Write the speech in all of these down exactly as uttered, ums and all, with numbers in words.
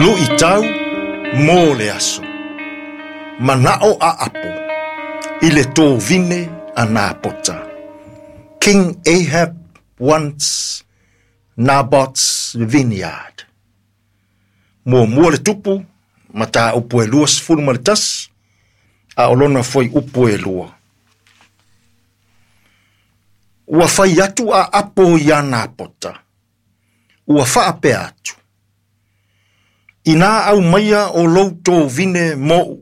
Luʻitau mo le aso. Manao a Apo i le tovine a Napota. King Ahab wants Naboth's vineyard. Muamua le tupu, mataupu e lua sefulu ma le tasi, a o lona foi upu e lua. Ua fai atu a Apo iā Napota. Ua faapea atu. Inā aumaia o lou tovine moʻu,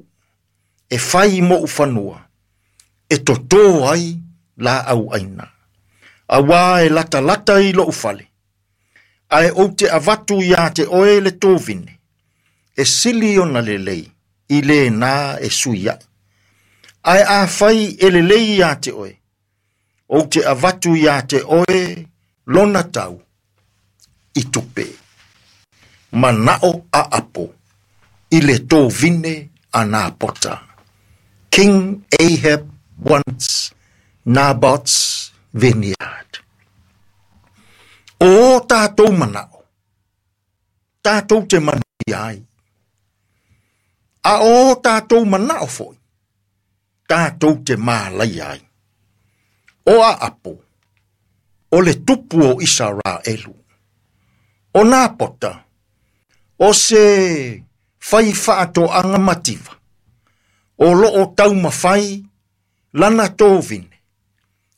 e fai moʻu fanua, e totō ai laau aina. Auā e latalata i loʻu fale, ae ou te avatu iā te oe le tovine, e sili ona lelei i lenā e sui ai. Ae afai e lelei iā te oe, ou te avatu iā te oe lona tau i tupe. Manao a Apo i le tovine a Napota. King Ahab wants Naboth's vineyard. O tātou manao, tātou te manuia ai. A o tātou manao foi, tātou te mālaia ai. O a Apo, o le tupu o Isaraelu. O Napota, o se fai faatoaga mativa, o loo taumafai lana tovine,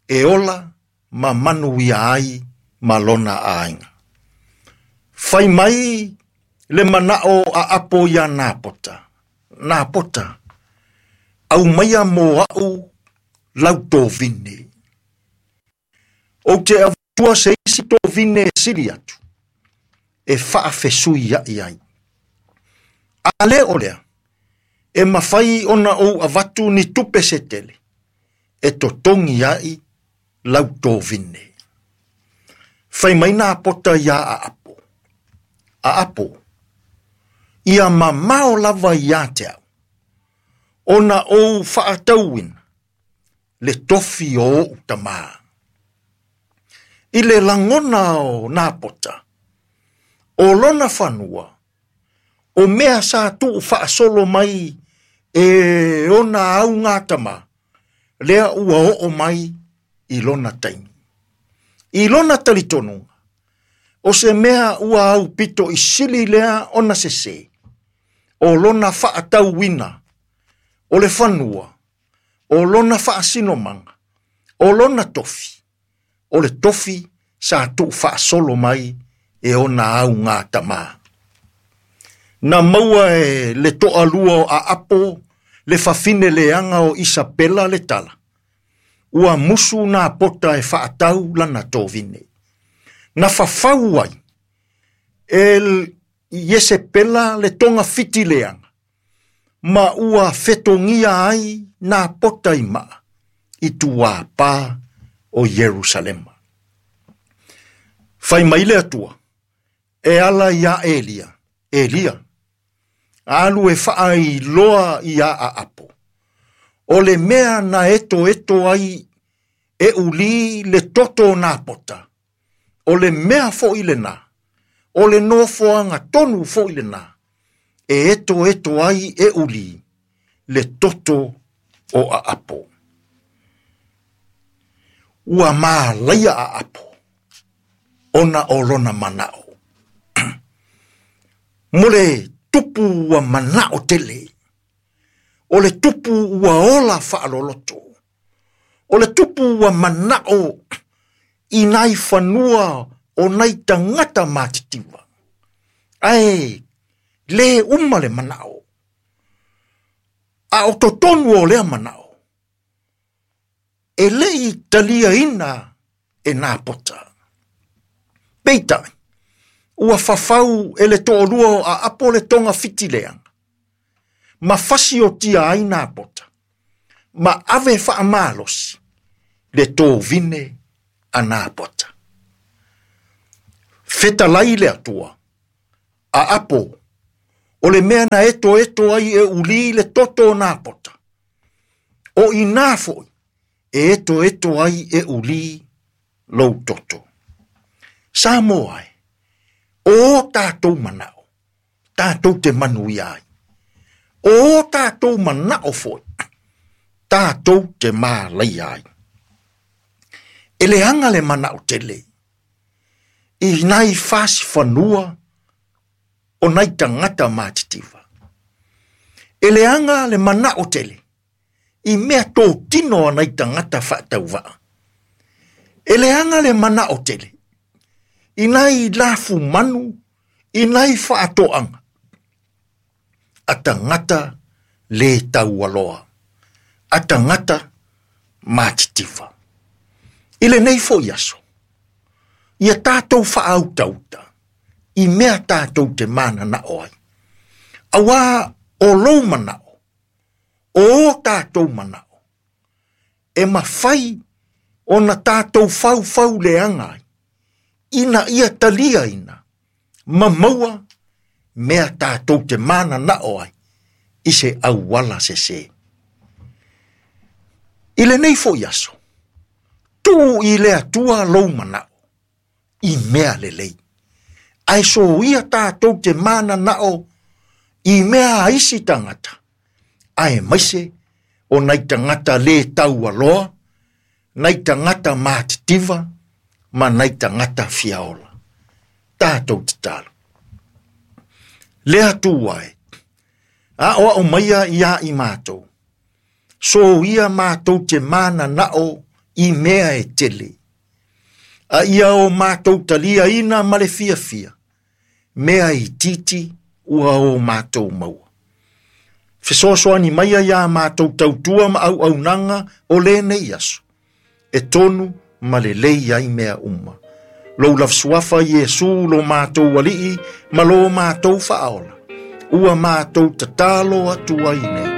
e ola ma manuia ai ma lona aiga. Fai mai le manao a Apo iā Napota. Napota, aumaia mo au lau tovine. Ou te avatua se isi tovine e sili atu, e faafesui ai ai. A le o lea, e mafai ona ou avatu ni tupe se tele, e totogi ai lau tovine. Fai mai Napota iā a Apo. A Apo, ia mamao lava iā te au, ona ou faatauina le tofi o ou tamā. I le lagona o Napota, o lona fanua, o mea sa tuu faasolo mai e ona augatama, lea ua oo mai i lona taimi. I lona talitonuga, o se mea ua aupito i sili lea ona sesē, o lona faatauina, o le fanua, o lona faasinomaga, o lona tofi, o le tofi sa tuu faasolo mai e ona augatama. Na maua e le toalua o a Apo le fafine leaga o Isapela le tala. Ua musu Napota e faatau lana tovine. Na fafau ai e Iesepela le togafiti leaga, ma ua fetogia ai Napota i maa i tuāpā o Ierusalema. Fai mai le Atua, e ala iā Elia, Elia, alu e faailoa iā a Apo. O le mea na eto eto ai e ulī le toto o Napota. O le mea foi lenā, o le nofoaga tonu foi lenā, e eto eto ai e ulī le toto o a Apo. Ua mālaia a Apo, ona o lona manao. Mo le tupu ua manao tele, o le tupu ua ola faaloloto, o le tupu ua manao i nai fanua o nai tagata matitiva. Ae le uma le manao, a o totonu o lea manao, e lei taliaina e Napota. Peitai, ua fafau e le toalua o a Apo le togafiti leaga, ma fasiotia ai Napota, ma ave faamalosi le tovine a Napota. Fetalai le Atua, a Apo, o le mea na eto eto ai e ulī le toto o Napota, o inā foi e eto eto ai e ulī lou toto. Samoa e, o tātou manao, Tātou te manuia ai. O tātou mana'o foi, tātou te mālaia ai. E leaga le mana'o tele, i nai fasi fanua o nai tagata matitiva. E leaga le mana'o tele, i mea totino a nai tagata faatauvaa. E leaga le mana'o tele, i nai lafu manu, i nai faatoaga, a tagata le taualoa, a tagata matitiva. I lenei foi aso, ia tātou faautauta, i mea tātou te manana'o ai. Auā o lou mana'o, o o tātou mana'o, e mafai ona tātou faufau leaga ai, ina ia taliaina, ma maua mea tātou te manana'o ai, i se auala sesē. I lenei foi aso, tuu i le Atua lou mana'o, i mea lelei. Ae soia tātou te manana'o i mea a isi tagata, aemaise o nai tagata le taualoa, nai tagata matitiva, ma nai tagata fiaola. Tātou tatalo. Le Atua e, aoao maia ia i matou, soia matou te manana'o i mea e tele. A ia o matou taliaina ma le fiafia, mea itiiti ua o matou maua. Fesoasoani maia iā matou tautua ma auaunaga o lenei aso, e tonu ma lelei ai mea uma. Lou lava suafa Iesu lo matou Alii ma lo matou Faaola, ua matou tatalo atu ai nei.